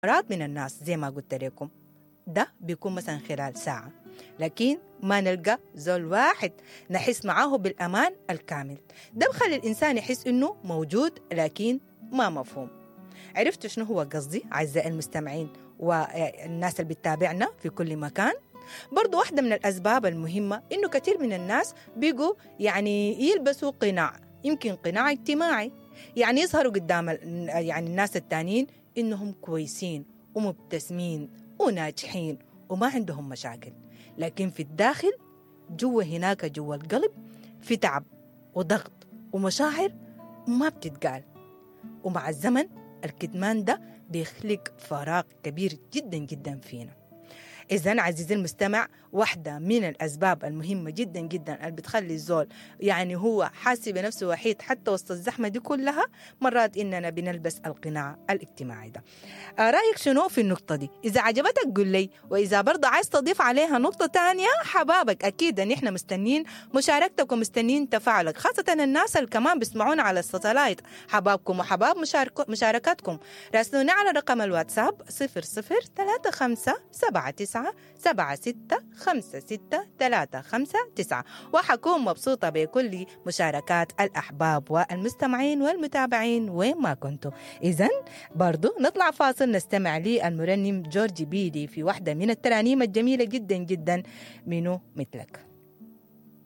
من الناس زي ما قلت لكم، ده بيكون مثلا خلال ساعة، لكن ما نلقى زول واحد نحس معاه بالأمان الكامل. ده بخلي الإنسان يحس إنه موجود لكن ما مفهوم. عرفتوا شنو هو قصدي أعزائي المستمعين والناس اللي بتتابعنا في كل مكان؟ برضو واحدة من الأسباب المهمة إنه كثير من الناس بيقوا يعني يلبسوا قناع، يمكن قناع اجتماعي، يعني يظهروا قدام يعني الناس التانيين إنهم كويسين ومبتسمين وناجحين وما عندهم مشاكل، لكن في الداخل جوا هناك جوا القلب في تعب وضغط ومشاعر ما بتتقال. ومع الزمن الكتمان ده بيخلق فراغ كبير جدا جدا فينا. إذن عزيزي المستمع، واحدة من الأسباب المهمة جدا جدا اللي بتخلي الزول يعني هو حاسي بنفسه وحيد حتى وسط الزحمة دي كلها، مرات إننا بنلبس القناع الاجتماعي ده. رأيك شنو في النقطة دي؟ إذا عجبتك قل لي، وإذا برضه عايز تضيف عليها نقطة تانية حبابك، أكيد إن إحنا مستنين مشاركتك ومستنين تفاعلك، خاصة الناس اللي كمان بيسمعونا على الساتلايت. حبابكم وحباب مشاركاتكم. راسلونا على رقم الواتساب 00 35 79 76 5 6 3 5 9، وحكون مبسوطة بكل مشاركات الأحباب والمستمعين والمتابعين وين ما كنتوا. إذن برضو نطلع فاصل نستمع للمرنم جورج بيدي في واحدة من الترانيم الجميلة جدا جدا، منو مثلك.